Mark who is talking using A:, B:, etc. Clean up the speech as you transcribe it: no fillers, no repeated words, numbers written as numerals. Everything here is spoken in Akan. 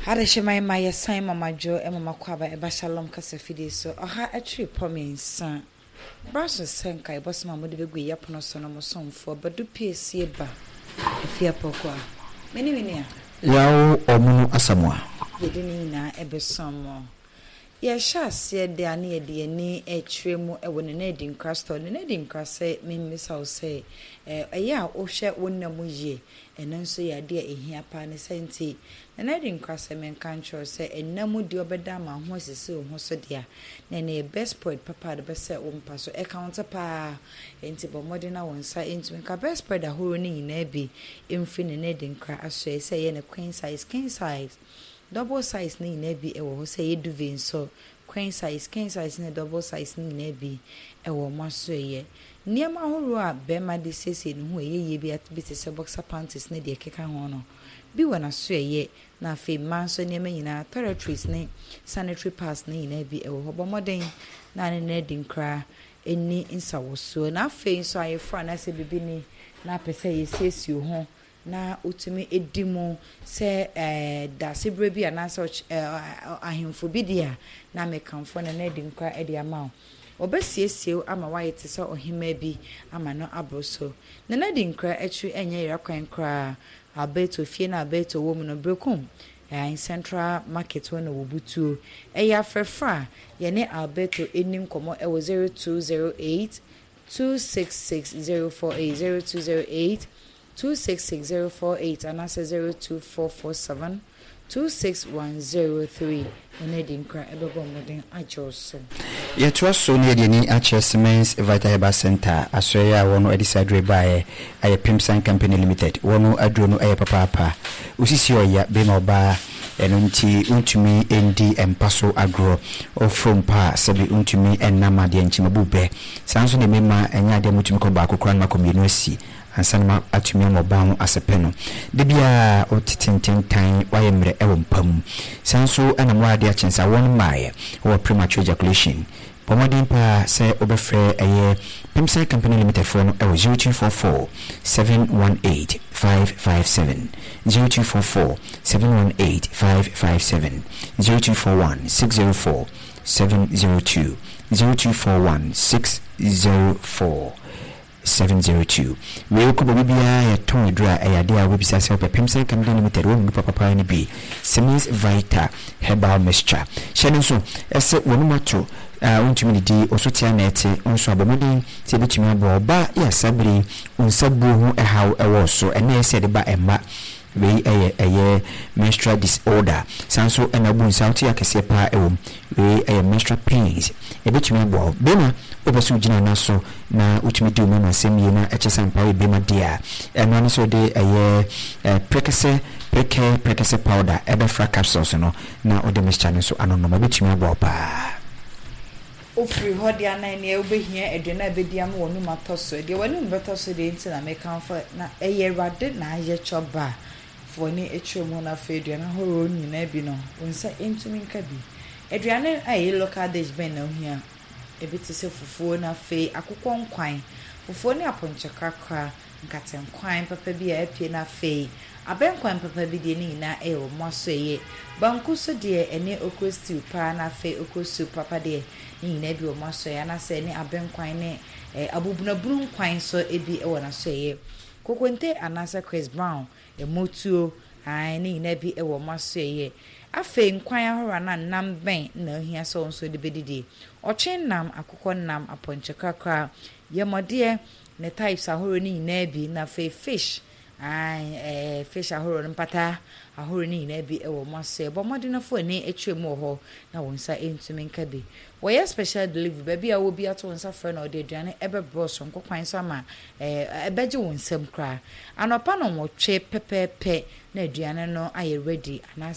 A: Adehyeman ma yɛsan ma madwo ma makɔ aba ɛba Shalom kasa fidie so ɔha akyiri pɔ mmiɛnsa. Bra so sɛ nkaebɔ sɛm a mode bɛgu yɛ pono so no mo somfoɔ Badu Piesie ba Afie Apɔkoa. Me ne me nua.
B: Yaw Ɔmono Asamoah.
A: Yɛde ne nyinaa ɛbɛsom mo. Yɛhyɛ aseɛ de a ne yɛde yɛn ani rekyerɛ mu wɔ Nana Adinkra store. Nana Adinkra sɛ memmisa wo sɛ ɛyɛ a wohwɛ wo nna mu yie? Ɛno nso yɛ adeɛ a ɛhia paa ne saa nti Nana Adinkra sɛ menka nkyerɛ wo sɛ nna mu deɛ ɔbɛda ama ho asisi wo ho so deɛ a na ɛno yɛ best spread papa a de bɛsɛ wo mpa so. Ɛka wo nsa paa enti bɔ mmɔden na wo nsa ntumi nka best spread ahorow no nyinaa bi mfiri Nana Adinkra asoɛe sɛ ɛyɛ ne queen size, king size, Double size no nyinaa bi wɔ hɔ sɛ ɛyɛ duvet nso, queen size, king size ne double size no nyinaa bi wɔ wɔn asoɛeɛ. Nneɛma ahoroɔ a barima de siesie ne ho a ɛyɛ yie bi bi te sɛ boxer panties ne deɛ ɛkeka ho no bi wɔ n'asoɛeɛ na afei mmaa nso nneɛma nyinaa toiletries ne sanitary pads no nyinaa bi wɔ hɔ. Bɔ mmɔden na ne no adi nkra nni nsawɔsoɔ. Na afei nso ayeforɔ anaasɛ biribi ni na apɛ sɛ yɛsiesie wo ho na wotumi di mu sɛ daasebrɛ bi anaasɛ ahemfo bi deɛ a, na mekamfo no na adi nkwa de ama wo. Wɔbɛsiesie wo ama woayɛ te sɛ ɔhemmaa bi ama no aboro so. Na n'adi nkra akyiri nyɛ yera kwan koraa. Alberto fie no a Alberto wɔ mu no, Berekum Central Market hɔ na wɔbutuo. Ɛyɛ afrɛfrɛ a yɛne Alberto nni nkɔmmɔ wɔ 0208 266 048, 0208 266048 anaasɛ 02447 26103 na adi nkra ɛbɛbɔ mmɔden agye wo so.
B: Yɛtoa so na yɛde ani akyerɛ Siemens Vital Herbal Centre asoɛeɛ a wɔn de saa aduro yi baeɛ ayɛ Pimsan Company Limited. Wɔn aduro no yɛ papaapa. Wo sisi ɔya bema ɔbaa ɛno nti wontumi ndi mpa so agorɔ. Woforo mpa a sɛbi wontumi nna ma deɛ nkyemabu bɛ. Saa nso na mmarima ɛnyɛ adeɛ a motumi kɔ baako koraa na makɔ mmienu asi. Ansa na matumi ama ɔbaa ho asɛpɛ no, da biara ɔte tententan, wayɛ mmerɛ wɔ mpa mu. Saa nso na mmoa adeɛ akye nsa wɔn mmaeɛ wɔ premature ejaculation. Bɔ mmɔden paa sɛ wobɛfrɛ ɛyɛ Pimsai Company Limited foɔ no wɔ 0244 718 557, 0244 718 557, 0241 604 702, 0241 604. 702. Wei wokɔ baabi biara yɛtɔn aduru a ɛyɛ adeɛ a wobɛbisa sɛ wopɛ Pemsan Company Limited wɔn mu papapaa no bi Siemens Vita Herbal Mixture hyɛ no nso ɛsɛ w'anum ato a wontumi didi wo so tea na ɛte wo nso a bɔ mmɔden sɛ ɛbɛtumi aboa wo ba yɛ a saa bere yi wo nsa buo ho ɛhaw ɛwɔ wo so ɛnna ɛyɛ sɛ ɛde ba ɛmma Wei yɛ ɛyɛ menstrual disorder. Saa nso na wobu nsa a wote akɛseɛ paa wɔ mu. Wei yɛ menstrual pains. Ɛbɛtumi aboa wo. Bɛrima, wopɛ sɛ wogyina nan so na wotumi di wo mmarima nsɛm yie na ɛkyɛ sɛ ampa woyɛ bɛrima deɛ a, ɛno ara ne sɛ wode ɛyɛ prɛkɛsɛ, prekɛ, prɛkɛsɛ powder ɛbɛfra capsules no na wode mixture no nso anonom. Ɛbɛtumi aboa wo paa.
A: Wofiri hɔ deɛ a na ɛneɛ wobɛhia aduane a ɛbɛdi ama w'anum atɔ so. Deɛ w'anum bɛtɔ so deɛ nti na mekamfo na ɛyɛ Awurade na ayɛ kyɔba fa w'ani kyerɛ mu na afei aduane ahoroɔ nyinaa bi no wo nsa ntumi nka bi. Aduane a ɛyɛ local dish bɛn na wohia? Ebi te sɛ fufuo na afei akokɔ nkwan, fufuo ne apɔnkye krakra, Nkatenkwan papa bi a apue na afei abɛnkwan papa bi deɛ ne nyinaa ɛyɛ wɔ moa so ɛyɛ. Banku nso deɛ ɛne okro stew paa na afei okro soup papa deɛ ne nyinaa bi wɔ moa so ɛyɛ anaasɛ ɛne abɛnkwan ne abubunabunu nkwan nso bi wɔ naso ɛyɛ. Kokonte anaasɛ Chris Brown Motuo, aane, ne nyinaa bi wɔ wɔn asoɛeɛ. Afei nkwan ahoroɔ anaa nam bɛn na ohia sɛ wo nso wode bɛdidie? Ɔtwe nam, akokɔ nam, apɔnkye krakra, yɛmɔdeɛ, ne types ahoroɔ no nyinaa bi, na afei fish, aane, ɛɛ, fish ahoroɔ no, mpataa ahoroɔ no nyinaa bi wɔ wɔn asoɛeɛ. Bɔ mmɔden na fa w'ani kyerɛ mu wɔ hɔ na wo nsa ntumi nka bi. Wɔyɛ special delivery, baabi a wowɔ biara to wo nsa frɛ na ɔde aduane bɛbrɛ wo soronko kwan so ama ɛbɛgye wo nsam koraa. Anɔpa nnɔnwɔtwe pɛpɛɛpɛ na aduane no ayɛ ready anaasɛ.